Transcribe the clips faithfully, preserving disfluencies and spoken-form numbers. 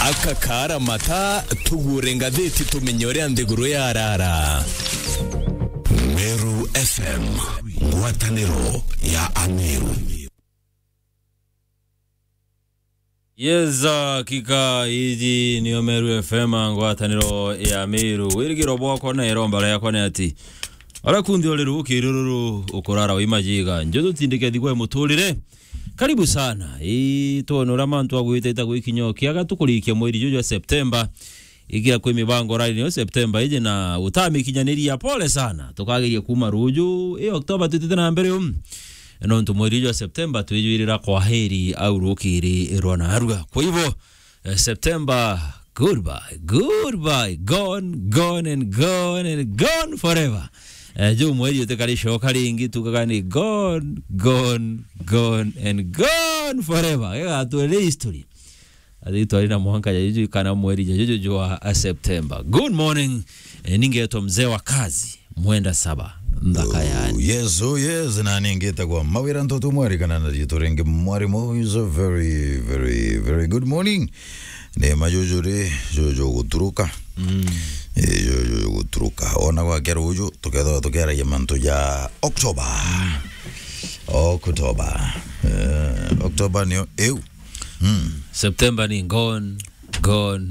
Aka kaara mata, tugure ngathiti tumenye uria nthiguru yarara. Meru F M, ngwataniro ya Ameru. Yes, hakika, iji niyo Meru F M, ngwataniro ya Meru. Wirigiro bwakwa na iromba riakwa ni ati, ara kundi uri rukiri ruru ukurara wi majiga. Njo tutindike thigwa muturire. Karibu sana. Ii, twone uria mantu agwitite gwikinya kiaga tukurikia mweri juju jwa Septemba. Igira kwi mibango rari niyo Septemba iji na utamikinyaniria, pole sana. Tukageria kuma ruju, ii October twitite na mbere um. Nontu mweri jwa Septemba twijwirira kwaheri au rukiri rwa narua. Kwa hivyo, eh, September, goodbye, goodbye, gone, gone and gone and gone forever. Eh, juu mweri utikaricoka ringi, tukaga ni gone, gone, gone and gone forever. Gigatwere history. Athi twari na mwanka ya juju kana mweri ya juju jwa, a, September. Good morning. Eh, ningetwa mzee wa kazi, Mwenda Saba, nthaka yani. Oh, yes, oh, yes, na ningitagwa Mawira Ntoto Mwari, kana na riitwa ringi Mwari Mo, is a very, very, very good morning. Ni majuju ri, juju guturuka. Mm. Eh, juju guturuka. Ona gwakera uju, tukethwa tukeragia mantu ja October. Mm. October. Eh, October niyo iu. Mm. September ni gone, gone,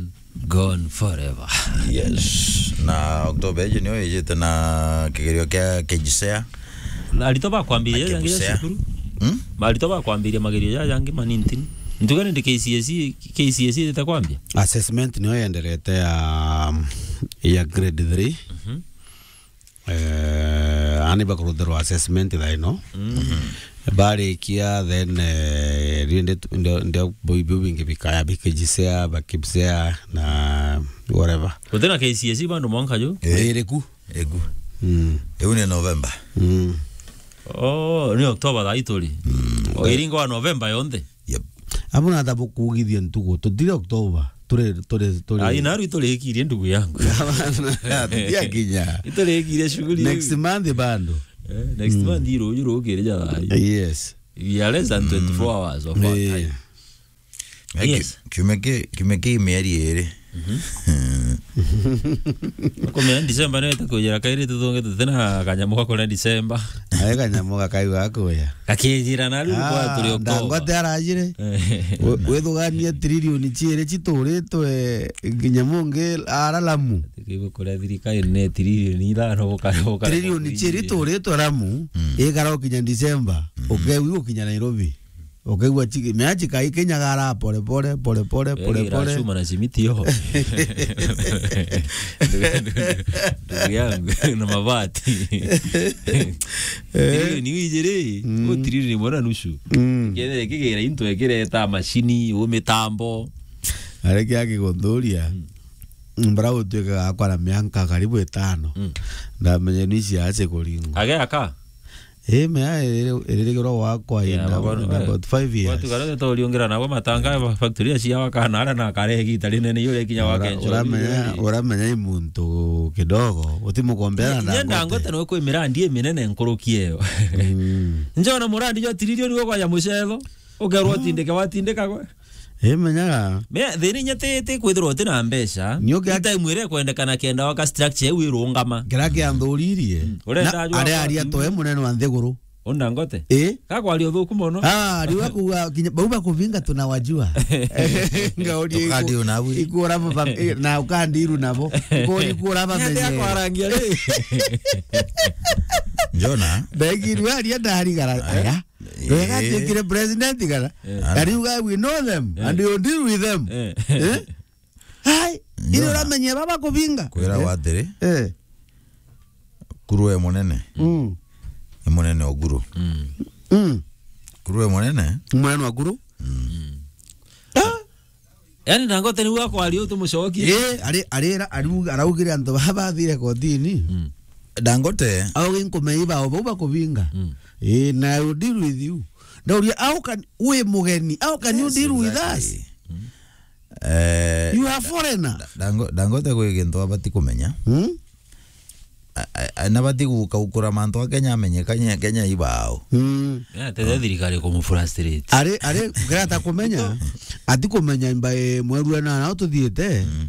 gone forever. Yes. Na October iji niyo ijite na kigerio kia K J S E A. Na arito bakwambiria K J S E A. Cukuru? Hmm? Marito bakwambiria magerio ja jangi manintini. Ntuga ni K C S E, K C S E ite kwambia? Assessment niyo yenderete ya, ya grade three. Mhm. Eh, ani bakurutherwa assessment thaa ino. Mm. Barikia, then, eh, riu ndi, ndi, ndi, biu, biu bingi bikaya, bi K J S E A, ba K P S E A, na whatever. Gutina K C S E bando mwanka ju? Eh. Iriku? Igu. Mm. Iu ni November. Mm. Oh, ni October thaa ituri. Mm. O iringo wa November yonthe. Yep. Abu na thabu kugithia ntugu, tutire October, turi, turi, turi. Ai, naru iturikirie ndugu yangu. Tutiakinya. Iturikirie shughuli. Next month bando. Eh, next month iruju rukiri ja thaa. Yes. We are less than twenty-four hours of our time. Eh. Yes. Kiumia ki, kiumia ki mieri iri. Mhm. Kumenya December niyo itakujira kairi tuthunge tutina kanyamu ga kuria December. Ai kanyamu ga kaiu ga kuya. Gakijira na riu kwa turi October. Dangote arajire. Eh. We-, withuganie trilioni ciiri cituritwe nginya mungi ara Lamu. Kiugo kuria thirikari ni trilioni ithano gukara, gukara. Trilioni ciiri ituritwe Lamu, mm, igara ukinya December, mm, ukewi ukinya Nairobi. Ukaigua chiki, mea chikaikinyagara pole pole, pole pole, pole pole. Chuma na simiti yo. Ndugu yangu, na mabati. Eh. Trilioni wijiri, mm, o trilioni imwe na nusu. Mm. Kethire kigira into ekireta mashini, u mitambo. Ari kia kiguthuria. Mm. Mbara utuika gakwa na mianka karibu itano. Mm. Ndamenya ni cia ache kuringwa. Age aka? Eh, mea iririgirwa gwakwa in about five years. Watu karate toriungira nabo matanga ba factory cia wakana ara na kare gita rinene iyo rekinya wake. Uramenya, uramenya i muntu kidogo utimukombera na Dangote. Dangote no kwi mirandi iminene nkuruki iyo. Mm. Njona murandi jwa trilioni gwa kwa ya mucetho. Ukerwo tindike watindika gwe. Imenyaga. Me, thina inya ti, ti kwithirwa uti na mbeca. Nio kia- Time iria ikwendekana kenda waka structure iu irungama. Kira kianthuririe. Mm. Urenda na ajua aria kwa aria kinyi. Toe munene wa nthiguru. Ona Ngote? Eh? Gakwaria uthuku mono. Ah, riu akuga kinya, bau bakuvinga tunawajua. Ngauria iku-, tukandi unabu. Ikura baba, eh, na ukandiru nabo. Ikura, ikura bamenye. Akwarangia ri. Njona? Ndaigiru aria ndarigara. Aya. Eh. Wega tuikire president kana? Eh. Na riu we know them, eh, and you deal with them. Eh. Eh? Hai, ile uramenye baba kuvinga. Kwira, eh, watiri. Eh. Kuru e munene. Mm. E munene o kuru. Mm. Mm. Kuru e munene. Munene wa kuru. Mm. Ah. Yaani Dangote niwe akwaria utumucokie. Eh, ari, ari, ariuga, araugire antu baba bathire kotini. Mm. Dangote. Auge nkumeiba o bau bakuvinga. Mm. Eh, na I will deal with you. Ndauria, how can, wi mugeni, how can you deal with us? Yes, exactly. Mm. Eh, you are foreigner. Da-, Dango-, Dangote gwi gintu abati kumenya. Mm? A-, a-, na bati guka ukura mantu a Kenya amenye Kenya, Kenya ibao. Mm. Ya, tete thirikari kumufrustrate. Ari, ari, kira atakumenya, atikumenya imba, eh, mweru ena nao tuthiite. Mm.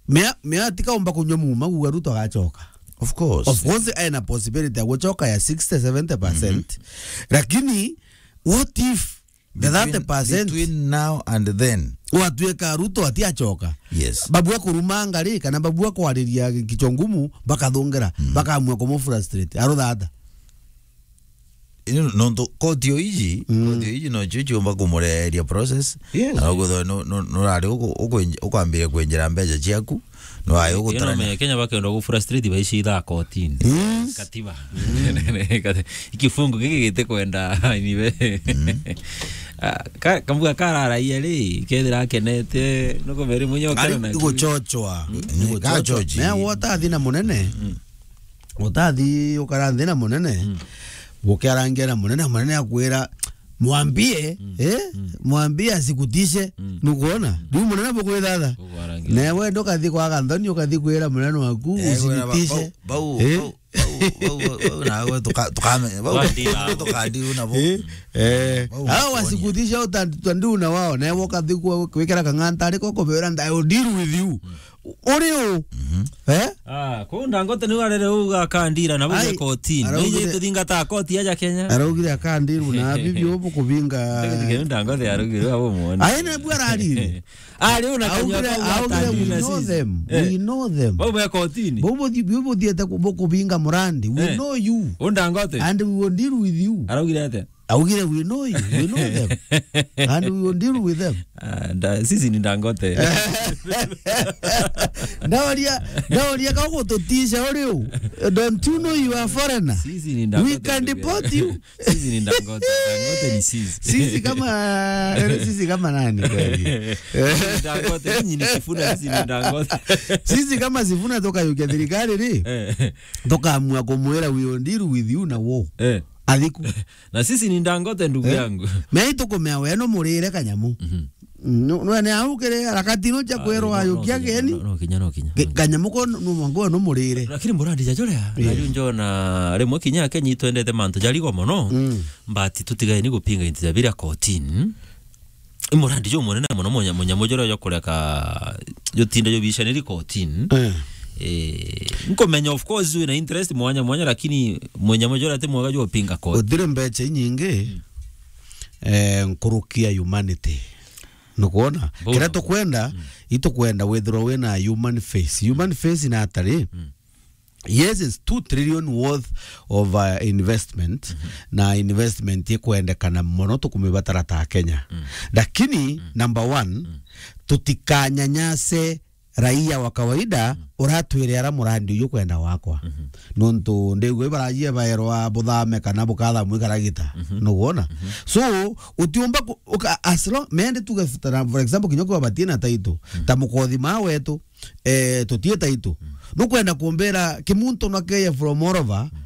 Mea, mea tikaumba kunywa muma kuga Ruto agacoka. Of course. Of course, ena possibility ya gucoka ya sixty, seventy percent. Mm-hmm. Lakini, what if the thirty percent between now and then, watuika Ruto atiacoka? Yes. Babu akurumanga ri, kana babu akwariria kichwa ngumu, bakathungira, mm, bakamua kumufrustrate. Aruthata. Ino nontu koti o iji, mm, koti o iji no cio ciumba kumureheria process. Yes. Na uguo no, no, no rari uku-, uku-, ukwambire kwenjera mbeca ciaku, no ayo. Ino gutarana me Kenya bakenda ku frustrate baici ithaa kotini. Mm. Katiba. Mm. Ikifungu giki gitikwenda niwe. Mm. Ah, ka-, kambuga kararaia ri, kethira akenete, no kumeri munyo. Ari kana guchochwa. Mm. Ni guchochwa. Gachochi. Me wota thina munene. Mm. Utathi ukara nthi na munene, mm, ukiarangia na munene, munene akwira, "Mwambie, mm, eh? Mm. Mwambie asikutishe." Mm. Nukuona? Riu munene bukwithatha. Ukwarangia. Na we ndukathi kwaga nthoni, ukathi kwira munene waku, eh, "Usinitishe." Bau, bau, eh? Bau, bau, bau, bau, na we tuka-, tukame-, bau, tukadiru nabo. Eh? Eh. Bau, hao wasikutishe, uta-, utandu na wao, na we ukathi kwa-, kwikira kang'anta ariko kubera, "I will deal with you." Mm. Uri u? Mhm. Eh? Ah, kuu Ndangote niu arere uga akandira na buge kotini. Araugire, niji tuthingata koti aja Kenya. Araugire akandiru na bibi ubu kubinga. Ndege Ndangote araugire abo muone. Ai, na bu ararire. Ari una kanywa. Augire, kau augire, "We know them. Eh. We know them." Bau be kotini. Bau buthi-, bau buthiete ku-, bu kubinga murandi. "We, eh, know you. U Ndangote. And we will deal with you." Araugire ate? Augire, "We know you, we know them. And we will deal with them." Ah, nda-, sisi ni Ndangote. Ndaoria, ndaoria ka gututisha uri u. Don't you know you are foreigner? Sisi ni Ndangote, ndugu yangu. We can deport you. Sisi ni Ndangote. Ndangote ni sisi. Sisi kama, sisi kama nani kweli? Ndangote, nyinyi ni Sifuna, sisi ni Ndangote. Sisi kama Sifuna tukayukia thirikari ri, eh, tukaamua kumwira, "We will deal with you na wo." Eh. Athiku. Na sisi ni Ndangote, ndugu yangu. Eh? Me itukumea we no murire kanyamu. Mhm. Mm, no, no, ne au kiri harakati no cia kwerwa ayukia geni. Ah, no, no, no, kinya, no, kinya, no, kinya. Kanyamu ko no mwangu no murire. Lakini murandi ja juria, eh, na yu njona rimwe kinya Kenya itwendete mantu jarigo mono. Mm. But tutigae ni gupinga into ja biria kotini. I murandi jo munene mono, munya-, munyamu juria jo kureka jutinde jo bicaniri kotini. Eh. Eh, nkumenya, of course, wina interest mwanya mwanya, lakini munyamu juria ti mwega jo pinga koti. Utire mbeca inyingi, mm, eh, nkuruki ya humanity. Nukwona? Mbona? Kiria tukwenda, mm, itukwenda withirwa wina human face. Human face na atari, mm. Yes, it's two trillion worth of, uh, investment, mhm, na investment ikwendekana mono tukumibatara ta Kenya. Mm. Lakini, mm, number one, mm, tutikanyanyase raia wa kawaida, mm, uratwire ara murandi uyu kwenda wakwa. Mhm. Nontu ndigwe barajie baerwa buthame kana bukathamwe karagita. Mhm. Nukwona? Mhm. So, utiumba ku-, uka-, as long, mende tuge, for example, kinya kwa batina taito, mm, ta mukothi ma wetu, eh, tutie taito. Mm. Nukwenda kumbira kimuntu na keye from all over, mm,